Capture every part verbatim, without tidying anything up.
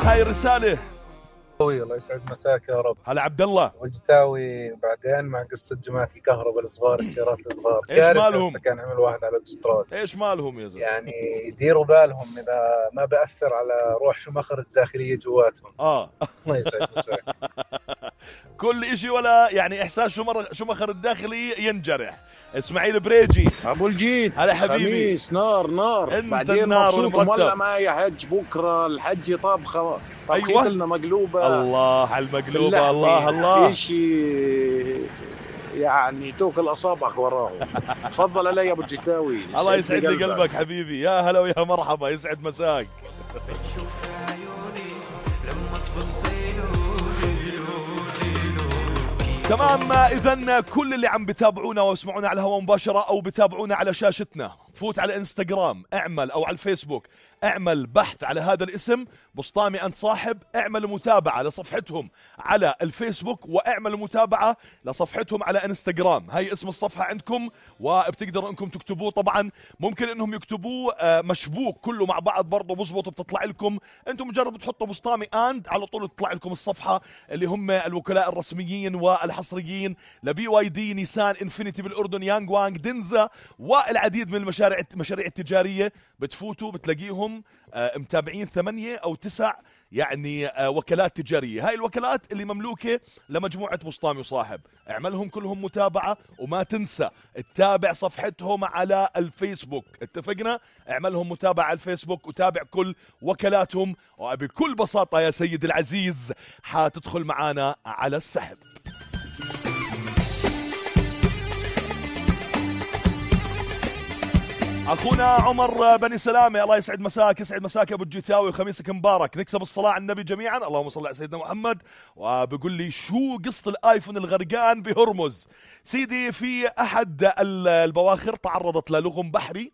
هاي الرسالة. الله يسعد مساك يا رب. هلا عبد الله وجتاوي بعدين مع قصة جماعة الكهرباء الصغار، السيارات الصغار. ايش مالهم؟ كان عمل واحد على الاوتوستراد. ايش مالهم يا زلمة؟ يعني يديروا بالهم إذا ما بأثر على روح شمخر الداخلية جواتهم. اه الله يسعد مساك. كل اشي ولا يعني احساس شمر شمخر الداخلي ينجرح. اسماعيل بريجي ابو الجيد. هلا حبيبي. خميس نار نار. انت بعدين النار مبسوط ولا معي حج بكره الحج طبخه طبخيت أيوة. لنا مقلوبه. الله على المقلوبه. الله الله شيء يعني توكل اصابعك وراه. تفضل علي يا ابو الجتاوي. الله يسعد لي قلبك حبيبي. يا هلا ويا مرحبا. يسعد مساك. بتشوف عيوني لما تبصيله. تمام. إذن كل اللي عم بتابعونا واسمعونا على الهواء مباشرة أو بتابعونا على شاشتنا، فوت على انستغرام اعمل أو على الفيسبوك اعمل بحث على هذا الاسم بسطامي أنت صاحب، اعمل متابعة لصفحتهم على الفيسبوك واعمل متابعة لصفحتهم على انستغرام. هاي اسم الصفحة عندكم وبتقدروا انكم تكتبوه. طبعا ممكن انهم يكتبوه مشبوك كله مع بعض برضه بزبط بتطلع لكم. انتم مجرد بتحطوا بسطامي أنت على طول تطلع لكم الصفحة اللي هم الوكلاء الرسميين والحصريين لبي واي دي، نيسان، انفينيتي بالأردن، يانغ وانغ، دنزا والعديد من المشاريع المشاريع التجارية. بتفوتوا بتلاقيهم متابعين ثمانية أو تسع يعني وكالات تجارية. هاي الوكالات اللي مملوكة لمجموعة بسطامي وصاحب، اعملهم كلهم متابعة وما تنسى تتابع صفحتهم على الفيسبوك. اتفقنا؟ اعملهم متابعة على الفيسبوك وتابع كل وكالاتهم، وبكل بساطة يا سيد العزيز حتدخل معانا على السحب. أخونا عمر بني سلامة الله يسعد مساك. يسعد مساك أبو الجيتاوي وخميسك مبارك. نكسب الصلاة على النبي جميعا. اللهم صل على سيدنا محمد. وبقول لي شو قصة الآيفون الغرقان بهرمز؟ سيدي في أحد البواخر تعرضت للغم بحري،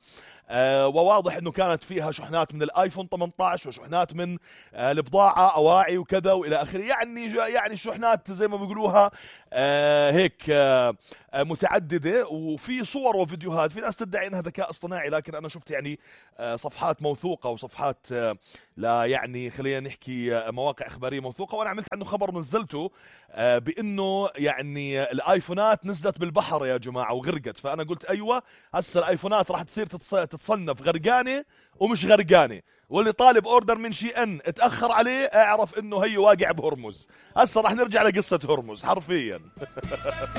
آه وواضح انه كانت فيها شحنات من الايفون ثمانية عشر وشحنات من آه البضاعة اواعي وكذا والى اخره. يعني يعني شحنات زي ما بيقولوها آه هيك آه متعددة، وفي صور وفيديوهات. في ناس تدعي انها ذكاء اصطناعي، لكن انا شفت يعني آه صفحات موثوقة وصفحات آه لا يعني خلينا نحكي آه مواقع اخبارية موثوقة، وانا عملت عنه خبر نزلته آه بانه يعني الايفونات نزلت بالبحر يا جماعة وغرقت. فانا قلت ايوه هسه الايفونات راح تصير تتصنف غرقانة ومش غرقانة، واللي طالب اوردر من شي ان اتأخر عليه اعرف انه هي واقع بهرمز. هسه راح نرجع لقصة هرمز حرفيا.